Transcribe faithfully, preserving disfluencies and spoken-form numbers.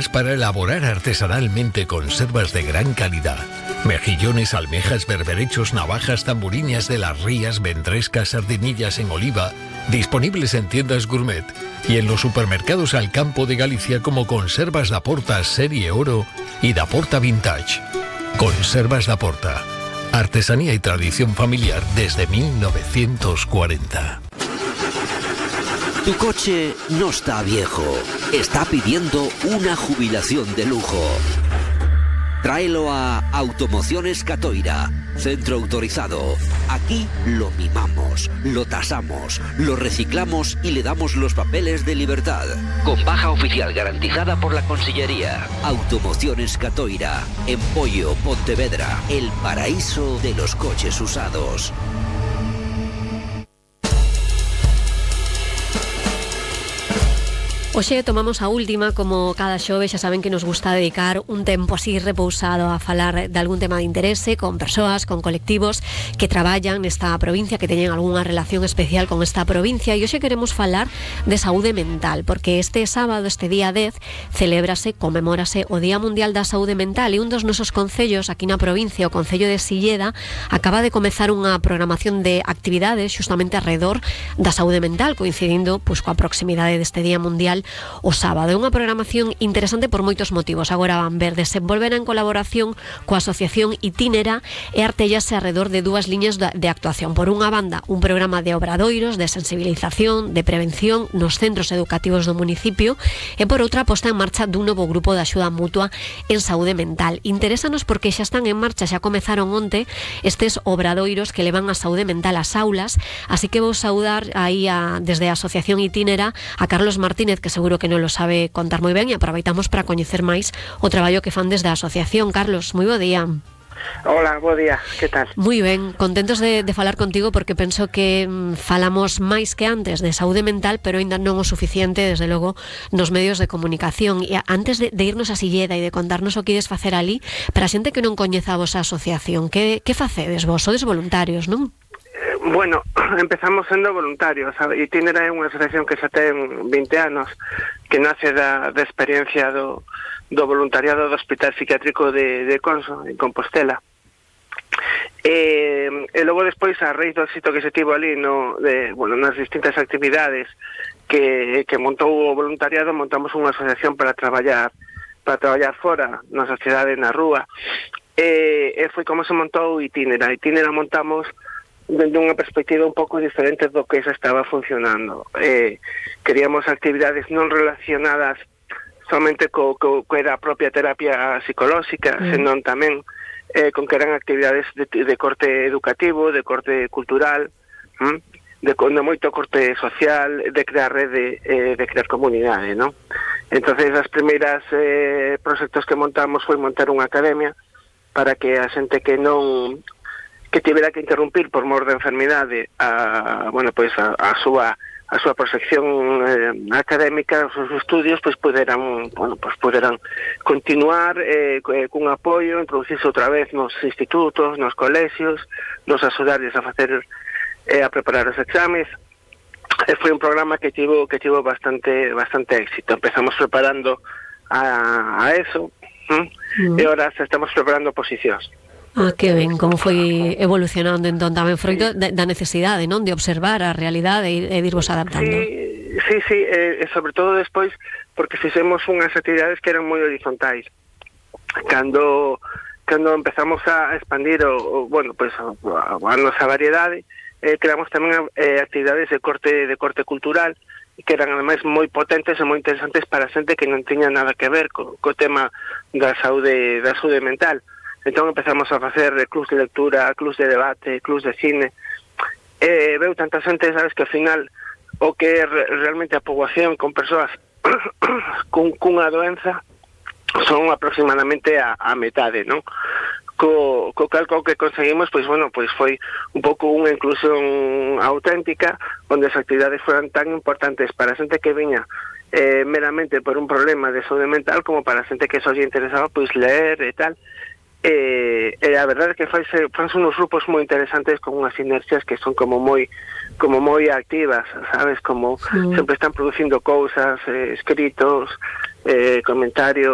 para elaborar artesanalmente conservas de gran calidad. Mejillones, almejas, berberechos, navajas, tamburiñas de las rías, ventrescas, sardinillas en oliva, disponibles en tiendas gourmet y en los supermercados Alcampo de Galicia como Conservas da Porta Serie Oro y da Porta Vintage. Conservas da Porta. Artesanía y tradición familiar desde mil novecientos cuarenta. Tu coche no está viejo, está pidiendo una jubilación de lujo. Tráelo a Automociones Catoira, centro autorizado. Aquí lo mimamos, lo tasamos, lo reciclamos y le damos los papeles de libertad. Con baja oficial garantizada por la Consellería. Automociones Catoira, en Pollo, Pontevedra, el paraíso de los coches usados. Hoxe tomamos a última, como cada xoves, xa saben que nos gusta dedicar un tempo así repousado a falar de algún tema de interese con persoas, con colectivos que traballan nesta provincia, que teñen algunha relación especial con esta provincia, e hoxe queremos falar de saúde mental, porque este sábado, este día dez, celébrase, conmemórase o Día Mundial da Saúde Mental, e un dos nosos concellos aquí na provincia, o Concello de Silleda, acaba de comezar unha programación de actividades xustamente alrededor da saúde mental, coincidindo pois coa proximidade deste Día Mundial o sábado. É unha programación interesante por moitos motivos. Agora van ver, desenvolverá en colaboración coa Asociación Itínera e artellase alrededor de dúas liñas de actuación. Por unha banda, un programa de obradoiros, de sensibilización, de prevención nos centros educativos do municipio, e por outra, posta en marcha dun novo grupo de axuda mutua en saúde mental. Interésanos porque xa están en marcha, xa comezaron onte estes obradoiros que levan a saúde mental ás aulas, así que vou saudar aí a, desde a Asociación Itínera a Carlos Martínez, que seguro que non lo sabe contar moi ben, e aproveitamos para coñecer máis o traballo que fan desde a asociación. Carlos, moi bo día. Hola, bo día, que tal? Moi ben, contentos de, de falar contigo porque penso que mm, falamos máis que antes de saúde mental, pero ainda non o suficiente, desde logo, nos medios de comunicación. E antes de, de irnos a Silleda e de contarnos o que ides facer ali, para a xente que non coñeza a vosa asociación, que, que facedes vos? Sodes voluntarios, non? Bueno, empezamos sendo voluntarios. Itínera é unha asociación que xa ten vinte anos, que nace da, da experiencia do, do voluntariado do Hospital Psiquiátrico de, de Conso, en Compostela. E, e logo despois, a raíz do éxito que se tivo ali no, de, bueno, nas distintas actividades que, que montou o voluntariado, montamos unha asociación para traballar para traballar fora, na sociedade, na rúa. E, e foi como se montou Itínera. Itínera montamos dende unha perspectiva un pouco diferente do que xa estaba funcionando. Eh, queríamos actividades non relacionadas somente co, co, co era a propia terapia psicolóxica, mm. senón tamén eh, con que eran actividades de, de corte educativo, de corte cultural, mm? de, de moito corte social, de crear rede, eh, de crear comunidade, non? Entonces, as primeiras eh, proxectos que montamos foi montar unha academia para que a xente que non que tivera que interrumpir por mor de enfermidade a, bueno, pois a, a súa a súa proxección eh, académica, os seus estudios, pois poderan, bueno, pois poderan continuar eh, cun apoio, introducirse outra vez nos institutos, nos colexios, nos axudarles a facer eh, a preparar os exames. E foi un programa que tivo que tivo bastante bastante éxito. Empezamos preparando a, a eso, ¿eh? Mm. E ahora estamos preparando posicións. Ah, que ben, como foi evolucionando entón tamén froito da necesidade, non, de observar a realidade e, e irvos adaptando. Sí, sí, sí, e, e sobre todo despois porque fixemos unhas actividades que eran moi horizontais. Cando cando empezamos a expandir o, o bueno, pois pues, a, a nosa variedade, eh, creamos tamén eh, actividades de corte de corte cultural que eran ademais moi potentes e moi interesantes para a xente que non tiña nada que ver co, co tema da saúde da saúde mental. Entón empezamos a facer clubs de lectura, clubs de debate, clubs de cine. E veu tanta xente, sabes, que ao final o que é realmente a poboación con persoas cun, cunha doenza son aproximadamente a, a metade, non? Co, co calco que conseguimos, pois, bueno, pois foi un pouco unha inclusión auténtica, onde as actividades foran tan importantes para a xente que viña eh, meramente por un problema de saúde mental, como para a xente que só lle interesaba, pois, ler e tal. E, e a verdade é que fanse uns grupos moi interesantes con unhas sinerxias que son como moi como moi activas, sabes, como sí. Sempre están producindo cousas, eh, escritos, eh, comentarios.